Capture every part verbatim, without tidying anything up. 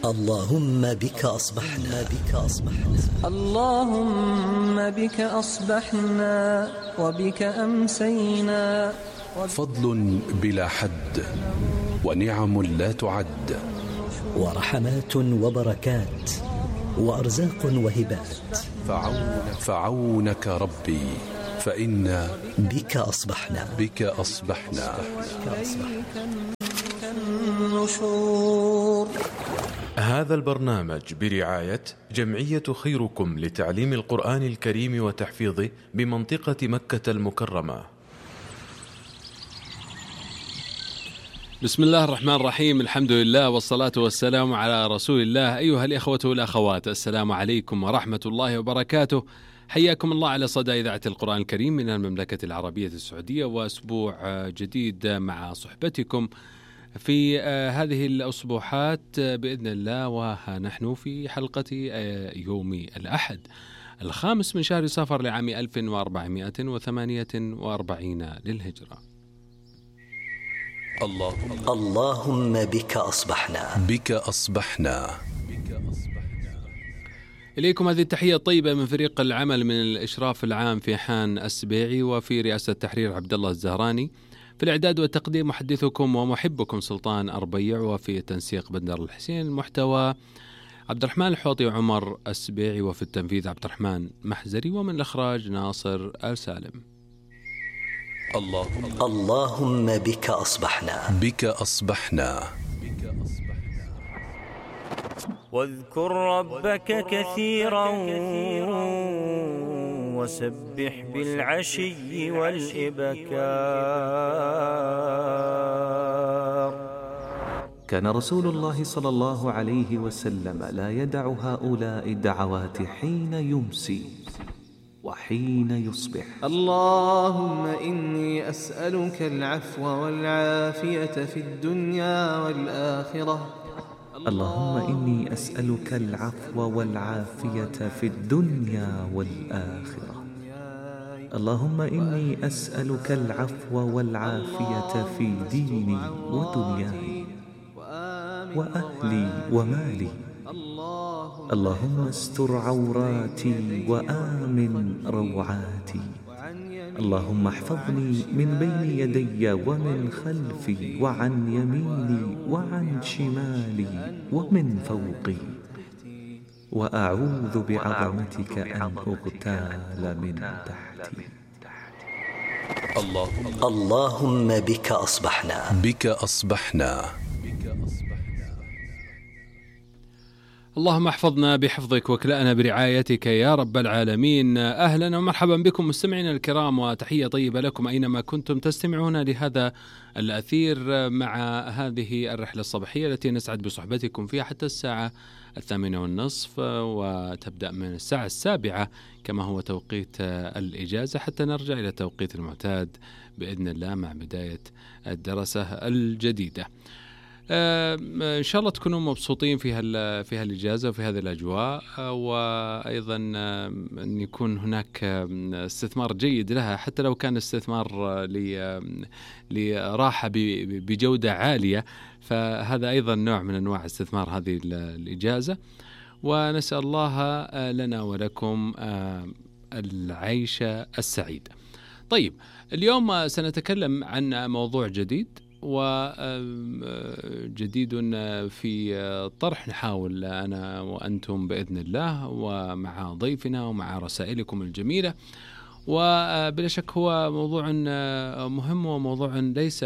اللهم بك أصبحنا بك أصبحنا اللهم بك أصبحنا وبك أمسينا. فضل بلا حد ونعم لا تعد ورحمات وبركات وأرزاق وهبات فعون فعونك ربي فإنا بك أصبحنا بك أصبحنا النشور. هذا البرنامج برعاية جمعية خيركم لتعليم القرآن الكريم وتحفيظه بمنطقة مكة المكرمة. بسم الله الرحمن الرحيم، الحمد لله والصلاة والسلام على رسول الله. أيها الإخوة والأخوات، السلام عليكم ورحمة الله وبركاته. حياكم الله على صدى إذاعة القرآن الكريم من المملكة العربية السعودية، وأسبوع جديد مع صحبتكم في هذه الأسبوعات بإذن الله. ونحن في حلقة يوم الأحد الخامس من شهر صفر لعام ألف وأربعمائة وثمانية وأربعين للهجرة. اللهم اللهم بك أصبحنا بك أصبحنا. إليكم هذه التحية الطيبة من فريق العمل من الإشراف العام في حان السبيعي، وفي رئاسة التحرير عبد الله الزهراني، في الإعداد والتقديم محدثكم ومحبكم سلطان أربيع، وفي التنسيق بندر الحسين، المحتوى عبد الرحمن الحوطي وعمر السبيعي، وفي التنفيذ عبد الرحمن محزري، ومن الإخراج ناصر آل سالم. اللهم اللهم بك أصبحنا بك أصبحنا. واذكر ربك كثيرا وسبح بالعشي والإبكار. كان رسول الله صلى الله عليه وسلم لا يدع هؤلاء الدعوات حين يمسي وحين يصبح. اللهم إني أسألك العفو والعافية في الدنيا والآخرة. اللهم إني أسألك العفو والعافية في الدنيا والآخرة. اللهم إني أسألك العفو والعافية في ديني ودنياي وأهلي ومالي. اللهم استر عوراتي وآمن روعاتي. اللهم احفظني من بين يدي ومن خلفي وعن يميني وعن شمالي ومن فوقي، وأعوذ بعظمتك أن أغتال من تحتي. اللهم اللهم بك أصبحنا بك أصبحنا. اللهم احفظنا بحفظك واكلأنا برعايتك يا رب العالمين. أهلا ومرحبا بكم مستمعينا الكرام، وتحية طيبة لكم أينما كنتم تستمعون لهذا الأثير مع هذه الرحلة الصباحية التي نسعد بصحبتكم فيها حتى الساعة الثامنة والنصف، وتبدأ من الساعة السابعة كما هو توقيت الإجازة، حتى نرجع إلى التوقيت المعتاد بإذن الله مع بداية الدراسة الجديدة. آه إن شاء الله تكونوا مبسوطين في هال في هالإجازة وفي هذه الأجواء، آه وأيضا آه أن يكون هناك آه استثمار جيد لها، حتى لو كان استثمار آه لراحة بجودة عالية، فهذا أيضا نوع من أنواع استثمار هذه الإجازة. ونسأل الله آه لنا ولكم آه العيشة السعيدة. طيب، اليوم سنتكلم عن موضوع جديد وجديد في طرح، نحاول أنا وأنتم بإذن الله ومع ضيفنا ومع رسائلكم الجميلة. وبلا شك هو موضوع مهم وموضوع ليس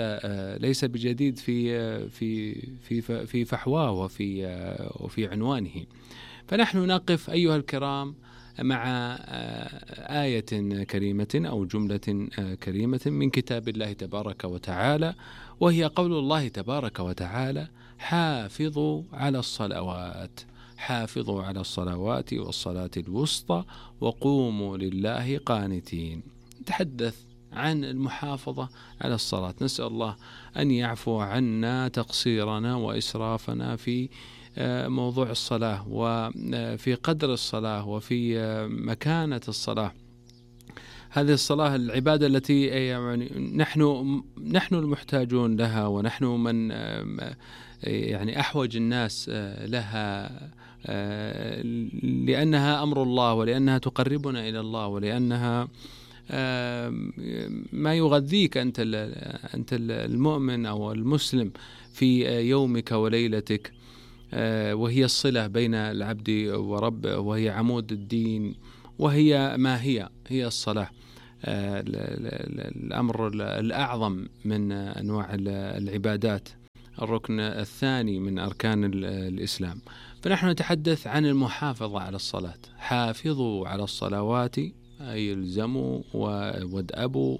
ليس بجديد في في في في فحواه وفي وفي عنوانه. فنحن نقف أيها الكرام مع آية كريمة أو جملة كريمة من كتاب الله تبارك وتعالى، وهي قول الله تبارك وتعالى: حافظوا على الصلوات حافظوا على الصلوات والصلاة الوسطى وقوموا لله قانتين. نتحدث عن المحافظة على الصلاة. نسأل الله أن يعفو عنا تقصيرنا وإسرافنا في موضوع الصلاة وفي قدر الصلاة وفي مكانة الصلاة. هذه الصلاة العبادة التي يعني نحن نحن المحتاجون لها، ونحن من يعني أحوج الناس لها، لأنها أمر الله، ولأنها تقربنا إلى الله، ولأنها ما يغذيك أنت أنت المؤمن أو المسلم في يومك وليلتك، وهي الصلة بين العبد وربه، وهي عمود الدين، وهي ما هي هي الصلاة، الأمر الأعظم من أنواع العبادات، الركن الثاني من أركان الإسلام. فنحن نتحدث عن المحافظة على الصلاة. حافظوا على الصلوات أي الزموا وادأبوا،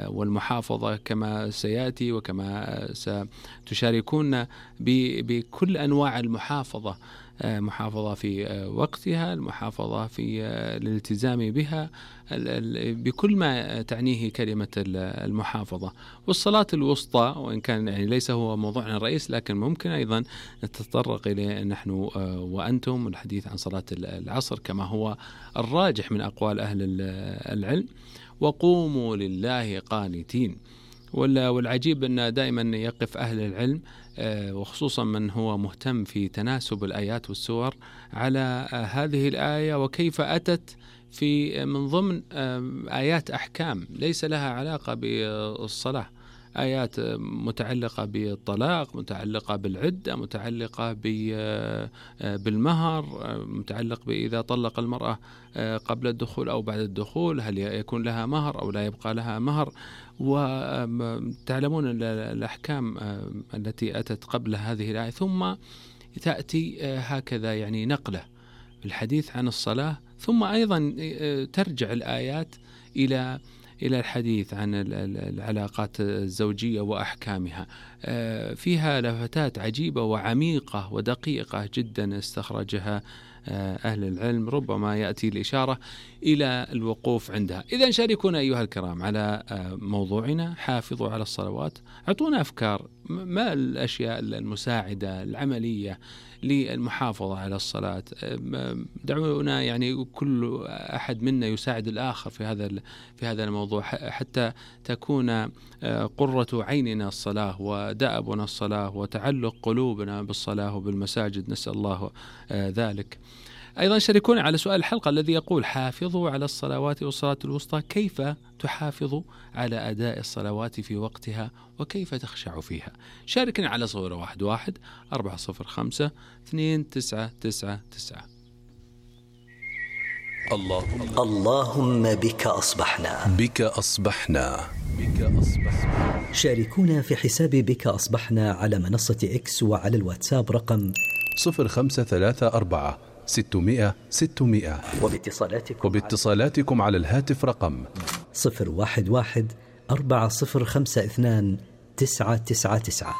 والمحافظة كما سيأتي وكما ستشاركون بكل أنواع المحافظة، محافظة في وقتها، المحافظة في الالتزام بها، بكل ما تعنيه كلمة المحافظة. والصلاة الوسطى، وإن كان يعني ليس هو موضوعنا الرئيس، لكن ممكن أيضا نتطرق إليه نحن وأنتم، الحديث عن صلاة العصر كما هو الراجح من أقوال أهل العلم. وقوموا لله قانتين. والعجيب أن دائما يقف أهل العلم وخصوصا من هو مهتم في تناسب الآيات والسور على هذه الآية، وكيف أتت في من ضمن آيات أحكام ليس لها علاقة بالصلاة، آيات متعلقة بالطلاق، متعلقة بالعدة، متعلقة بالمهر، متعلق بإذا طلق المرأة قبل الدخول أو بعد الدخول هل يكون لها مهر أو لا يبقى لها مهر. وتعلمون الأحكام التي أتت قبل هذه الآية، ثم تأتي هكذا يعني نقلة الحديث عن الصلاة، ثم أيضا ترجع الآيات إلى إلى الحديث عن العلاقات الزوجية وأحكامها. فيها لفتات عجيبة وعميقة ودقيقة جدا استخرجها أهل العلم، ربما يأتي الإشارة إلى الوقوف عندها. إذن شاركونا أيها الكرام على موضوعنا، حافظوا على الصلوات. أعطونا أفكار، ما الأشياء المساعدة العملية للمحافظة على الصلاة. دعونا يعني كل أحد منا يساعد الآخر في هذا في هذا الموضوع، حتى تكون قرة عيننا الصلاة، ودأبنا الصلاة، وتعلق قلوبنا بالصلاة وبالمساجد، نسأل الله ذلك. أيضا شاركونا على سؤال الحلقة الذي يقول: حافظوا على الصلوات والصلاة الوسطى، كيف تحافظ على أداء الصلوات في وقتها، وكيف تخشع فيها؟ شاركنا على صفر واحد واحد أربعة صفر خمسة اثنين تسعة تسعة تسعة. اللهم اللهم بك أصبحنا بك أصبحنا بك أصبحنا. شاركونا في حساب بك أصبحنا على منصة إكس وعلى الواتساب رقم صفر خمسة ثلاثة أربعة ستمائة ستمائة، وباتصالاتكم وباتصالاتكم على الهاتف رقم صفر واحد واحد أربعة صفر خمسة اثنان تسعة تسعة تسعة.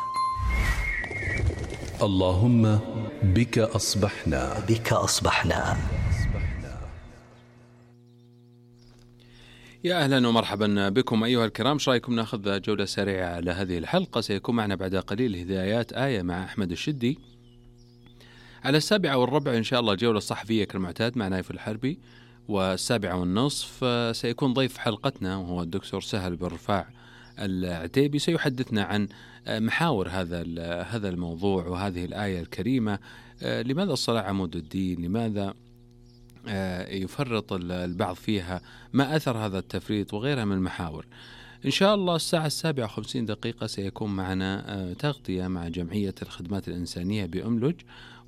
اللهم بك أصبحنا بك أصبحنا. يا أهلا ومرحبا بكم أيها الكرام. ايش رايكم ناخذ جولة سريعة على هذه الحلقة؟ سيكون معنا بعد قليل هدايات آية مع أحمد الشدي. على السابعة والربع إن شاء الله جولة صحفية كالمعتاد مع نايف الحربي. والسابعة والنصف سيكون ضيف حلقتنا وهو الدكتور سهل بن رفاع العتيبي، سيحدثنا عن محاور هذا هذا الموضوع وهذه الآية الكريمة. لماذا الصلاة عمود الدين؟ لماذا يفرط البعض فيها؟ ما أثر هذا التفريط؟ وغيرها من المحاور. إن شاء الله الساعة السابعة وخمسين دقيقة سيكون معنا تغطية مع جمعية الخدمات الإنسانية بأملج،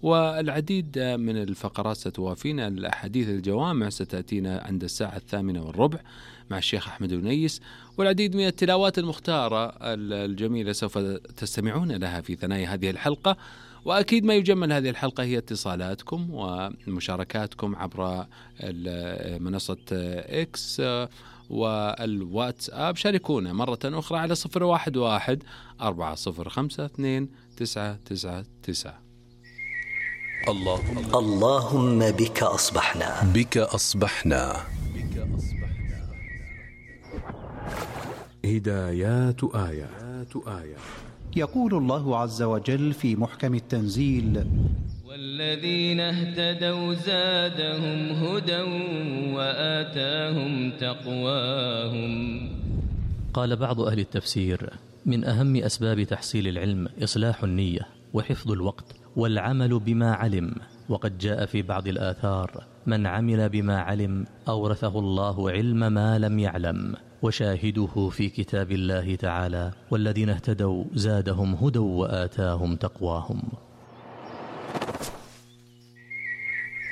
والعديد من الفقرات ستوافينا. الأحاديث الجوامع ستأتينا عند الساعة الثامنة والربع مع الشيخ أحمد ونيس، والعديد من التلاوات المختارة الجميلة سوف تستمعون لها في ثنايا هذه الحلقة. وأكيد ما يجمل هذه الحلقة هي اتصالاتكم ومشاركاتكم عبر منصة إكس والواتساب. شاركونا مرة أخرى على صفر واحد واحد أربعة صفر خمسة اثنين تسعة تسعة تسعة. اللهم اللهم بك أصبحنا بك أصبحنا. هدايات آيات آية. يقول الله عز وجل في محكم التنزيل: والذين اهتدوا زادهم هدى وآتاهم تقواهم. قال بعض أهل التفسير: من أهم أسباب تحصيل العلم إصلاح النية وحفظ الوقت والعمل بما علم. وقد جاء في بعض الآثار: من عمل بما علم أورثه الله علم ما لم يعلم. وشاهده في كتاب الله تعالى: والذين اهتدوا زادهم هدى وآتاهم تقواهم.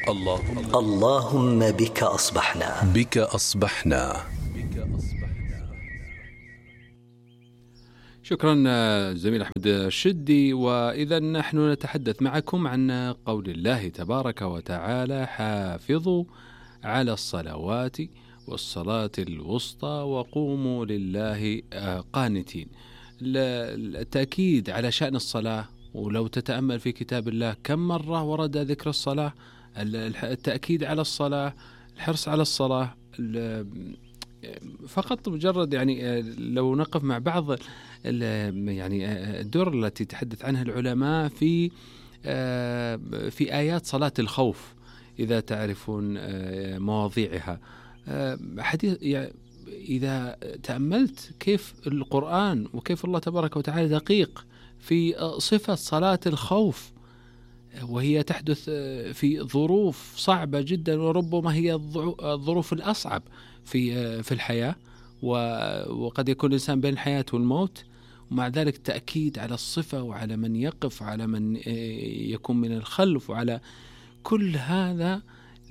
اللهم اللهم بك أصبحنا بك أصبحنا. شكرا زميل أحمد الشدي. وإذا نحن نتحدث معكم عن قول الله تبارك وتعالى: حافظوا على الصلوات والصلاة الوسطى وقوموا لله قانتين. التأكيد على شأن الصلاة، ولو تتأمل في كتاب الله كم مرة ورد ذكر الصلاة، التأكيد على الصلاة، الحرص على الصلاة. فقط مجرد يعني لو نقف مع بعض يعني الدور التي تحدث عنها العلماء في في آيات صلاة الخوف، إذا تعرفون مواضيعها. حديث يعني إذا تأملت كيف القرآن وكيف الله تبارك وتعالى دقيق في صفة صلاة الخوف، وهي تحدث في ظروف صعبة جدا، وربما هي الظروف الأصعب في في الحياة، وقد يكون الإنسان بين الحياة والموت، ومع ذلك تأكيد على الصفة وعلى من يقف وعلى من يكون من الخلف وعلى كل هذا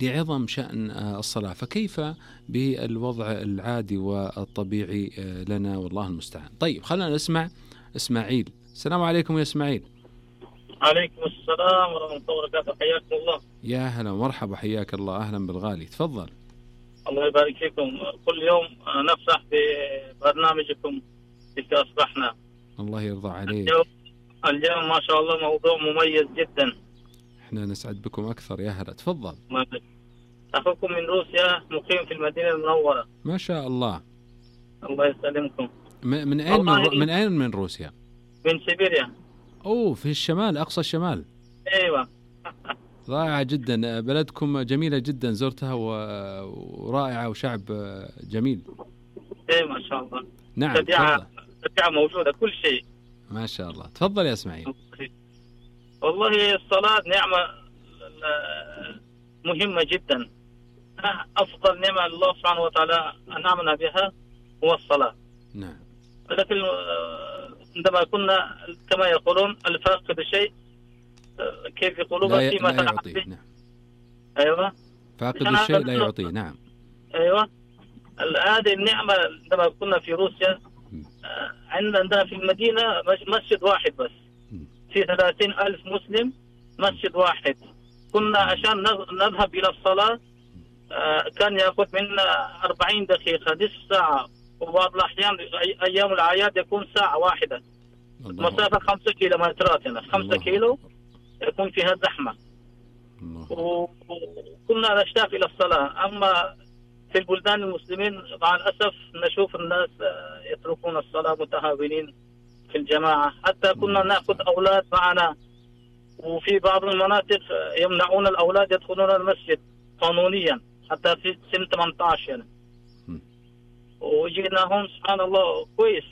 لعظم شأن الصلاة. فكيف بالوضع العادي والطبيعي لنا؟ والله المستعان. طيب خلينا نسمع إسماعيل. السلام عليكم يا إسماعيل. عليكم السلام ورحمة الله وبركاته. حياكم الله. يا هلا ومرحبا، حياك الله، أهلا بالغالي، تفضل. الله يبارك فيكم. كل يوم نفرح ببرنامجكم بك أصبحنا. الله يرضى عليك. اليوم, اليوم ما شاء الله موضوع مميز جدا. احنا نسعد بكم أكثر. يا هلا، تفضل. أخوكم من روسيا مقيم في المدينة المنورة. ما شاء الله. الله يسلمكم. من أين من, من أين من روسيا؟ من سيبيريا. أوه، في الشمال، أقصى الشمال. أيوة. رائعة جدا، بلدكم جميلة جدا، زرتها ورائعة وشعب جميل. إيه ما شاء الله. نعم. تبيعة تبيعة موجودة كل شيء. ما شاء الله. تفضل يا إسماعيل. والله الصلاة نعمة مهمة جدا. أفضل نعمة الله سبحانه وتعالى أنعمنا بها هو الصلاة. نعم. لكن عندما كنا كما يقولون الفاقد شيء كيف يقولون لا, ي... لا يعطيه. نعم. أيوة. فاقد الشيء لا يعطيه. نعم. أيوة. هذه النعمة عندما كنا في روسيا عندنا في المدينة مسجد واحد بس في ثلاثين ألف مسلم، مسجد واحد. كنا عشان نذهب إلى الصلاة كان يأخذ منا أربعين دقيقة، نصف ساعة، وبعض الأحيان أيام الأعياد يكون ساعة واحدة. مسافة خمسة كيلومترات هنا، خمسة كيلو يكون فيها زحمة. وكنا نشتاق إلى الصلاة. أما في البلدان المسلمين مع الأسف نشوف الناس يتركون الصلاة متهاونين في الجماعة. حتى كنا نأخذ أولاد معنا، وفي بعض المناطق يمنعون الأولاد يدخلون المسجد قانونيا حتى في سن ثمانية عشر يعني. وجيناهم سبحان الله كويس،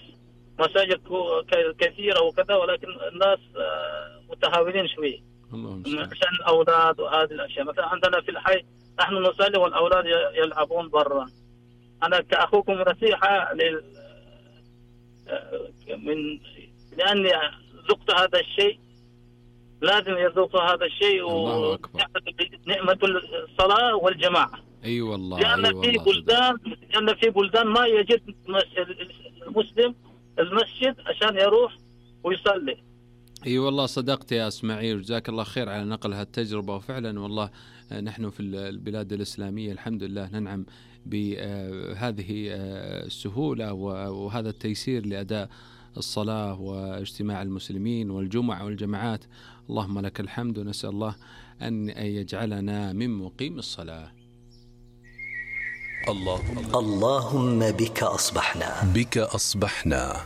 مساجد كثيرة وكذا، ولكن الناس متهاونين شوي عشان الأولاد وهذه الأشياء. مثلا عندنا في الحي نحن نصلي والأولاد يلعبون برا. أنا كأخوكم نصيحة لل... من لأني ذقت هذا الشيء لازم يذوق هذا الشيء، ونعمة الصلاة والجماعة. أي والله. لأن أي في بلدان لأن في بلدان ما يجد المسلم المسجد عشان يروح ويصلي. اي والله صدقت يا اسماعيل، وجزاك الله خير على نقل هالتجربة. وفعلا والله نحن في البلاد الإسلامية الحمد لله ننعم بهذه السهولة وهذا التيسير لأداء الصلاة واجتماع المسلمين والجمع والجماعات. اللهم لك الحمد، ونسأل الله أن يجعلنا من مقيم الصلاة. اللهم اللهم بك أصبحنا بك أصبحنا.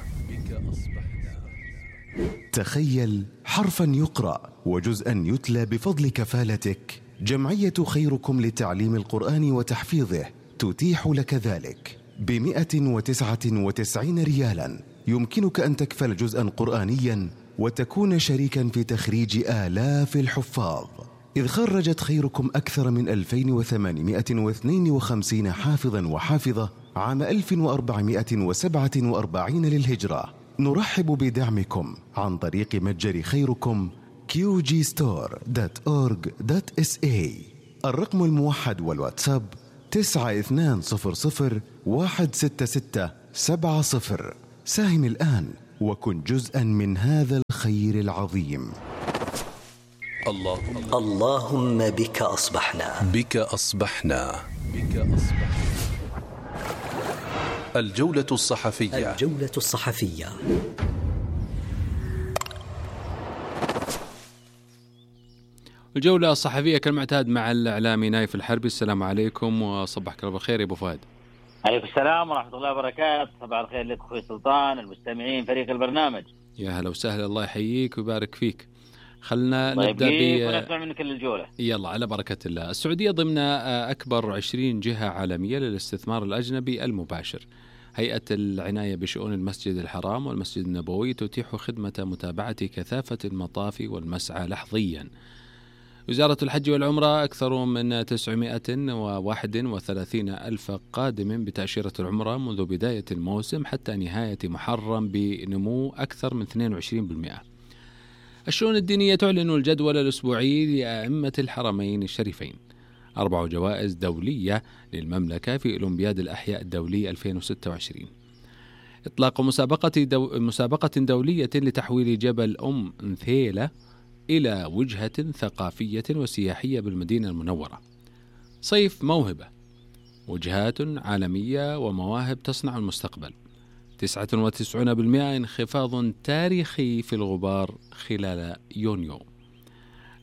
تخيل حرفا يقرأ وجزءا يتلى بفضل كفالتك. جمعية خيركم لتعليم القرآن وتحفيظه تتيح لك ذلك بمئة وتسعة وتسعين ريالا يمكنك أن تكفل جزءا قرآنيا وتكون شريكا في تخريج آلاف الحفاظ، إذ خرجت خيركم أكثر من ألفين وثمانمائة واثنين وخمسين حافظا وحافظة عام ألف وأربعمائة وسبعة وأربعين للهجرة. نرحب بدعمكم عن طريق متجر خيركم كيو جي ستور دوت أورج دوت إس إيه. الرقم الموحد والواتساب تسعة اثنان صفر صفر واحد ستة ستة سبعة صفر. ساهم الآن وكن جزءا من هذا الخير العظيم. اللهم اللهم بك أصبحنا بك أصبحنا بك أصبحنا. الجولة الصحفية الجولة الصحفية. الجولة الصحفية كالمعتاد مع الإعلامي نايف الحربي. السلام عليكم وصبحك الله بالخير يا أبو فهد. عليكم السلام ورحمة الله وبركاته. صباح الخير لك أخوي سلطان، المستمعين، فريق البرنامج. يا هلا وسهلا، الله يحييك ويبارك فيك. خلنا طيب نبدأ ب ونسمع منك الجولة. يلا على بركة الله. السعودية ضمن أكبر عشرين جهة عالمية للاستثمار الأجنبي المباشر. هيئة العناية بشؤون المسجد الحرام والمسجد النبوي تتيح خدمة متابعة كثافة المطاف والمسعى لحظيا. وزارة الحج والعمرة أكثر من تسعمائة وواحد وثلاثين ألف قادم بتأشيرة العمرة منذ بداية الموسم حتى نهاية محرم بنمو أكثر من اثنين وعشرين بالمئة. الشؤون الدينية تعلن الجدول الأسبوعي لأئمة الحرمين الشريفين. أربع جوائز دولية للمملكة في أولمبياد الأحياء الدولي ألفين وستة وعشرين. إطلاق مسابقة, دو مسابقة دولية لتحويل جبل أم نثيلة إلى وجهة ثقافية وسياحية بالمدينة المنورة. صيف موهبة، وجهات عالمية ومواهب تصنع المستقبل. تسعة وتسعين بالمئة انخفاض تاريخي في الغبار خلال يونيو.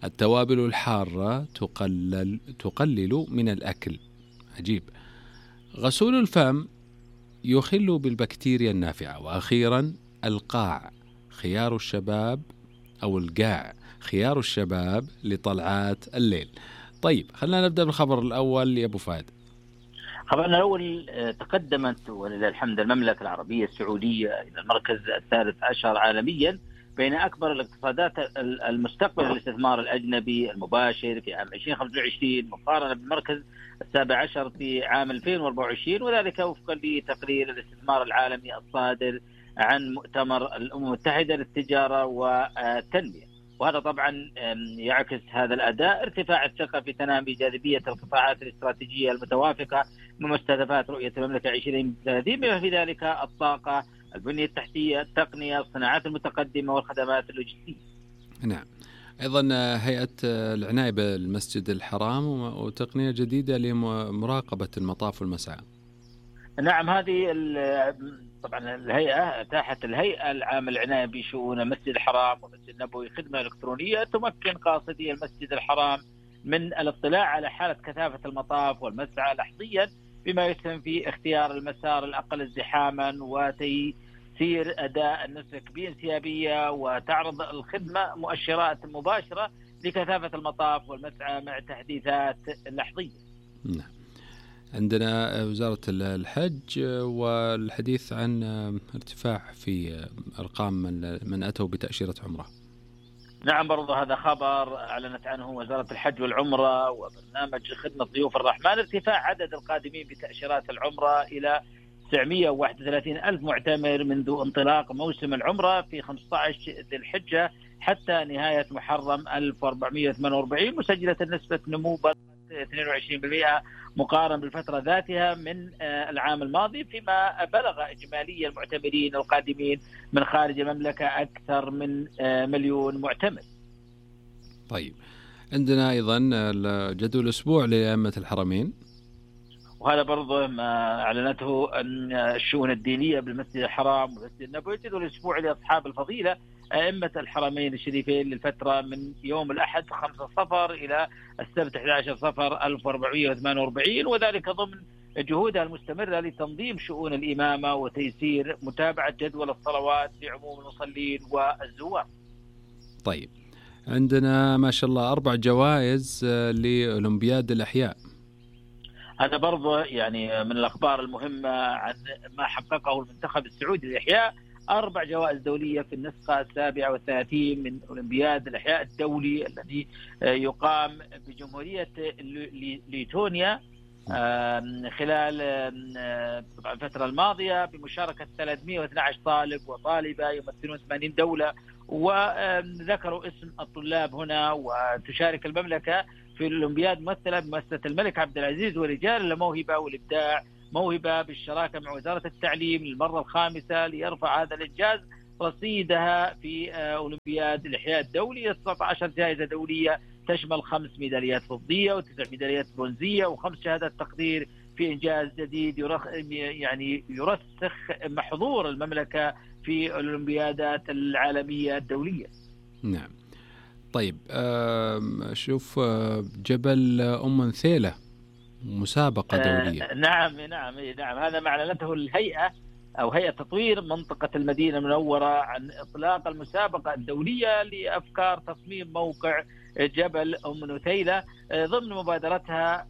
التوابل الحارة تقلل, تقلل من الأكل. عجيب. غسول الفم يخل بالبكتيريا النافعة. وأخيرا القاع خيار الشباب أو القاع خيار الشباب لطلعات الليل. طيب خلينا نبدأ بالخبر الأول يا أبو فهد. خبرنا الأول، تقدمت ولله الحمد المملكة العربية السعودية إلى المركز الثالث عشر عالميا بين أكبر الاقتصادات المستقبل للاستثمار الأجنبي المباشر في عام ألفين وخمسة وعشرين مقارنة بالمركز السابع عشر في عام ألفين وأربعة وعشرين، وذلك وفقا لتقرير الاستثمار العالمي الصادر عن مؤتمر الأمم المتحدة للتجارة والتنمية. وهذا طبعا يعكس هذا الأداء ارتفاع الثقة في تنامي جاذبية القطاعات الاستراتيجية المتوافقة من مستهدفات رؤية المملكة عشرين ثلاثين، بما في ذلك الطاقة، البنية التحتية، التقنية، الصناعات المتقدمة والخدمات اللوجستية. نعم. أيضا هيئة العناية بالمسجد الحرام وتقنية جديدة لمراقبة المطاف والمسعى. نعم، هذه طبعا الهيئة أتاحت الهيئة العامة للعناية بشؤون المسجد الحرام والمسجد النبوي خدمة إلكترونية تمكن قاصدي المسجد الحرام من الاطلاع على حالة كثافة المطاف والمسعى لحظيا، بما يسهم في اختيار المسار الأقل ازدحاما وتيسير أداء النسك بانسيابية، وتعرض الخدمة مؤشرات مباشرة لكثافة المطاف والمسعى مع تحديثات لحظية. نعم. عندنا وزارة الحج والحديث عن ارتفاع في أرقام من أتوا بتأشيرة عمرة. نعم، برضو هذا خبر أعلنت عنه وزارة الحج والعمرة وبرنامج خدمة ضيوف الرحمن، ارتفاع عدد القادمين بتأشيرات العمرة إلى تسعمائة وواحد وثلاثين ألف معتمر منذ انطلاق موسم العمرة في خمسة عشر ذي الحجة حتى نهاية محرم ألف وأربعمائة وثمانية وأربعين، مسجلة نسبة نمو اثنين وعشرين بالمئة مقارنة بالفترة ذاتها من العام الماضي، فيما بلغ إجمالي المعتمرين القادمين من خارج المملكة أكثر من مليون معتمر. طيب عندنا أيضا جدول الأسبوع لأئمة الحرمين، وهذا برضه ما أعلنته أن الشؤون الدينية بالمسجد الحرام والمسجد النبوي. جدول الأسبوع لأصحاب الفضيلة أئمة الحرمين الشريفين للفترة من يوم الأحد خمسة صفر إلى السبت أحد عشر صفر ألف وأربعمائة وثمانية وأربعين، وذلك ضمن جهودها المستمرة لتنظيم شؤون الإمامة وتيسير متابعة جدول الصلوات لعموم المصلين والزوار. طيب عندنا ما شاء الله أربع جوائز لأولمبياد الأحياء. هذا برضه يعني من الأخبار المهمة عن ما حققه المنتخب السعودي للإحياء. أربع جوائز دولية في النسخة السابعة والثلاثين من أولمبياد الإحياء الدولي الذي يقام بجمهورية ليتونيا خلال الفترة الماضية بمشاركة ثلاثمئة واثني عشر طالب وطالبة يمثلون ثمانين دولة، وذكروا اسم الطلاب هنا. وتشارك المملكة في الأولمبياد ممثلة بمؤسسة الملك عبد العزيز ورجال الموهبة والإبداع، موهبة بالشراكة مع وزارة التعليم للمرة الخامسة ليرفع هذا الإنجاز رصيدها في أولمبياد الإحياء الدولي. تسعة عشر جائزة دولية تشمل خمس ميداليات فضية وتسع ميداليات برونزية وخمس شهادات تقدير في إنجاز جديد يرخ يعني يرسخ محظور المملكة في الأولمبيادات العالمية الدولية. نعم. طيب شوف جبل أم نثيلة مسابقة دولية. آه نعم نعم نعم هذا ما أعلنته الهيئة أو هيئة تطوير منطقة المدينة المنورة عن إطلاق المسابقة الدولية لأفكار تصميم موقع جبل أم نثيلة ضمن مبادرتها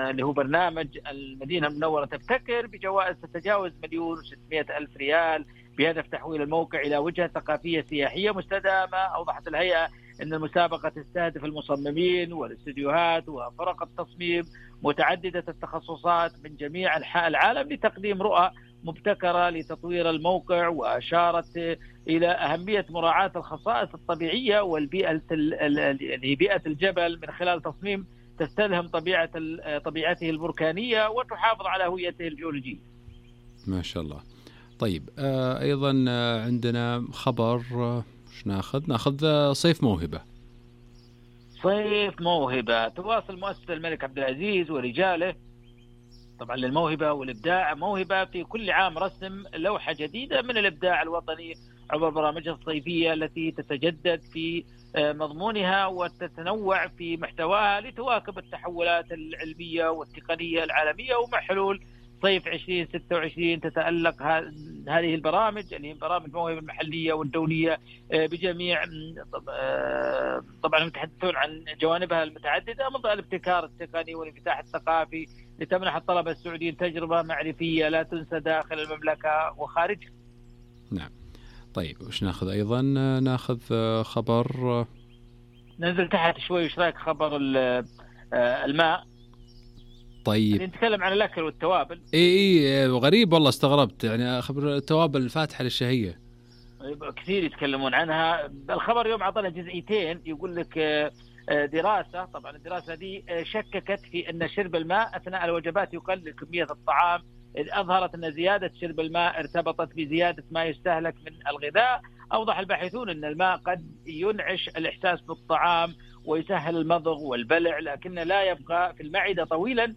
اللي هو برنامج المدينة المنورة تبتكر بجوائز تتجاوز مليون وستمائة ألف ريال بهدف تحويل الموقع إلى وجهة ثقافية سياحية مستدامة. أوضحت الهيئة أن المسابقة تستهدف المصممين والاستديوهات وفرق التصميم متعددة التخصصات من جميع أنحاء العالم لتقديم رؤى مبتكرة لتطوير الموقع، وأشارت إلى أهمية مراعاة الخصائص الطبيعية والبيئة بيئة الجبل من خلال تصميم تستلهم طبيعة طبيعته البركانية وتحافظ على هويته الجيولوجية. ما شاء الله. طيب آه أيضا عندنا خبر وش ناخذ ناخذ صيف موهبة. صيف موهبة تواصل مؤسسة الملك عبد العزيز ورجاله طبعا للموهبة والإبداع موهبة في كل عام رسم لوحة جديدة من الإبداع الوطني عبر برامجها الصيفية التي تتجدد في مضمونها وتتنوع في محتواها لتواكب التحولات العلمية والتقنية العالمية. ومع حلول صيف عشرين ستة وعشرين تتألق هذه البرامج اللي هي برامج موهبة المحلية والدولية بجميع طبعا يتحدثون عن جوانبها المتعددة من ضمن الابتكار التقني والانفتاح الثقافي لتمنح الطلبة السعوديين تجربة معرفية لا تنسى داخل المملكة وخارجها. نعم. طيب وش ناخذ أيضا؟ ناخذ خبر ننزل تحت شوي. وش رايك خبر الماء؟ طيب نتكلم عن الأكل والتوابل. اي اي غريب والله استغربت يعني خبر التوابل الفاتحة للشهية كثير يتكلمون عنها. الخبر اليوم عطانا جزئيتين يقول لك دراسة طبعا الدراسة دي شككت في أن شرب الماء أثناء الوجبات يقلل كمية الطعام، إذ أظهرت أن زيادة شرب الماء ارتبطت بزيادة ما يستهلك من الغذاء. أوضح الباحثون أن الماء قد ينعش الإحساس بالطعام ويسهل المضغ والبلع، لكن لا يبقى في المعدة طويلا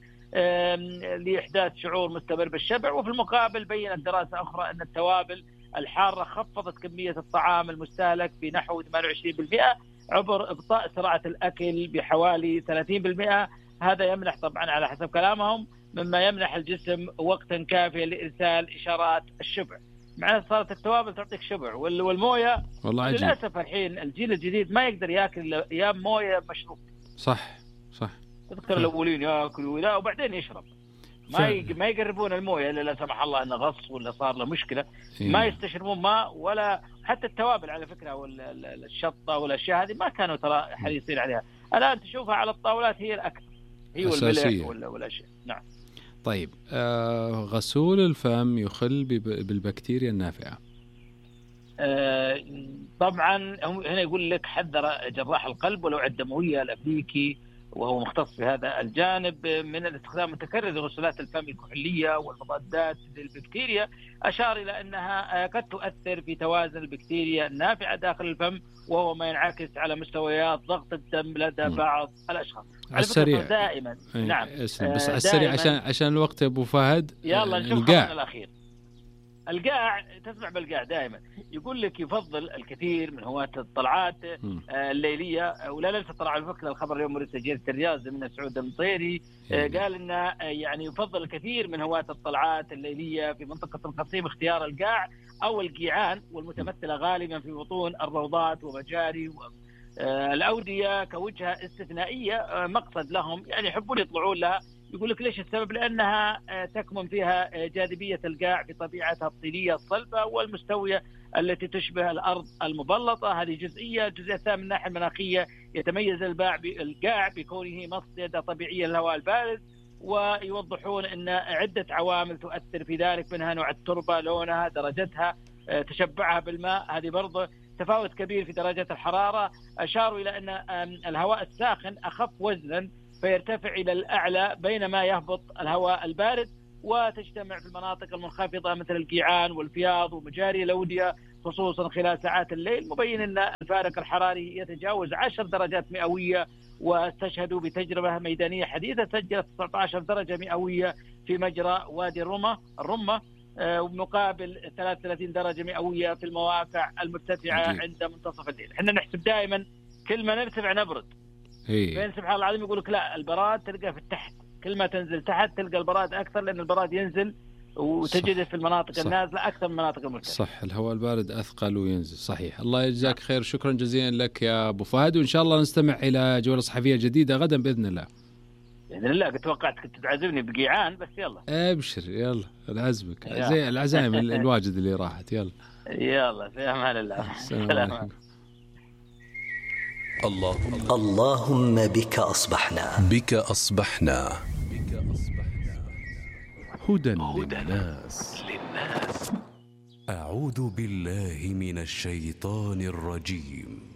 لإحداث شعور مستمر بالشبع. وفي المقابل بيّنت دراسة أخرى أن التوابل الحارة خفضت كمية الطعام المستهلك بنحو ثمانية وعشرين بالمئة عبر إبطاء سرعة الأكل بحوالي ثلاثين بالمئة. هذا يمنح طبعا على حسب كلامهم مما يمنح الجسم وقتا كافيا لإرسال إشارات الشبع. معناها صارت التوابل تعطيك شبع والموية للأسف الحين الجيل الجديد ما يقدر يأكل يا موية مشروب. صح صح. تذكر الأولين يأكلوا لا وبعدين يشرب ما ي... ما يقربون المويه الا لا سمح الله انه غص ولا صار له مشكله. إيه. ما يستشربون ماء ولا حتى التوابل على فكره والشطه والاشياء هذه ما كانوا ترى حريصين عليها. الان تشوفها على الطاولات هي الاكل هي والملح ولا والاشياء. نعم. طيب آه غسول الفم يخل بالبكتيريا النافعه. آه طبعا هنا يقول لك حذر جراح القلب والأوعية الدمويه الامريكي وهو مختص في هذا الجانب من الاستخدام المتكرر لغسولات الفم الكحولية والمضادات للبكتيريا. أشار إلى أنها قد تؤثر في توازن البكتيريا النافعة داخل الفم وهو ما ينعكس على مستويات ضغط الدم لدى م. بعض الأشخاص. على السريع دائما. نعم. بس على السريع عشان عشان الوقت أبو فهد. يلا نشوف الخبر الأخير. القاع تسمع بالقاع دائما يقول لك يفضل الكثير من هواة الطلعات الليلية ولا ننسى طلع على فكرة الخبر اليوم مرسل جريدة الرياض من سعود المطيري قال إنه يعني يفضل الكثير من هواة الطلعات الليلية في منطقة القصيم اختيار القاع أو القيعان والمتمثلة غالبا في بطون الروضات ومجاري الأودية كوجهة استثنائية مقصد لهم يعني يحبون يطلعون لها. يقول لك ليش السبب؟ لأنها تكمن فيها جاذبية القاع بطبيعتها الطينية الصلبة والمستوية التي تشبه الأرض المبلطة. هذه جزئية. الجزئية الثانية من الناحية المناخية يتميز القاع بكونه مصيدة طبيعية للهواء البارد، ويوضحون أن عدة عوامل تؤثر في ذلك، منها نوع التربة، لونها، درجتها، تشبعها بالماء. هذه برضه تفاوت كبير في درجة الحرارة. أشاروا إلى أن الهواء الساخن أخف وزنا فيرتفع إلى الأعلى بينما يهبط الهواء البارد، وتجتمع في المناطق المنخفضة مثل القيعان والفياض ومجاري الأودية خصوصا خلال ساعات الليل، مبين أن الفارق الحراري يتجاوز عشر درجات مئوية. واستشهدوا بتجربة ميدانية حديثة سجلت تسعة عشر درجة مئوية في مجرى وادي الرمة الرمة ومقابل ثلاثة وثلاثين درجة مئوية في المواقع المرتفعة عند منتصف الليل. احنا نحسب دائما كل ما نرتفع نبرد، بين سبحان الله العظيم يقول لك لا البراد تلقى في التحت، كل ما تنزل تحت تلقى البراد أكثر، لأن البراد ينزل وتجده في المناطق صح. النازلة أكثر من المناطق المرتفعة. صح، الهواء البارد أثقل وينزل. صحيح. الله يجزاك خير، شكرا جزيلا لك يا أبو فهد، وإن شاء الله نستمع إلى جولة صحفية جديدة غدا بإذن الله. بإذن الله. كنت توقعت كنت تعزمني بقيعان، بس يلا أبشر يلا العزمك زي العزائم الواجد اللي راحت. يلا يلا في أمان الله. السلام عليكم. اللهم اللهم بك أصبحنا بك أصبحنا هدى للناس. أعوذ بالله من الشيطان الرجيم.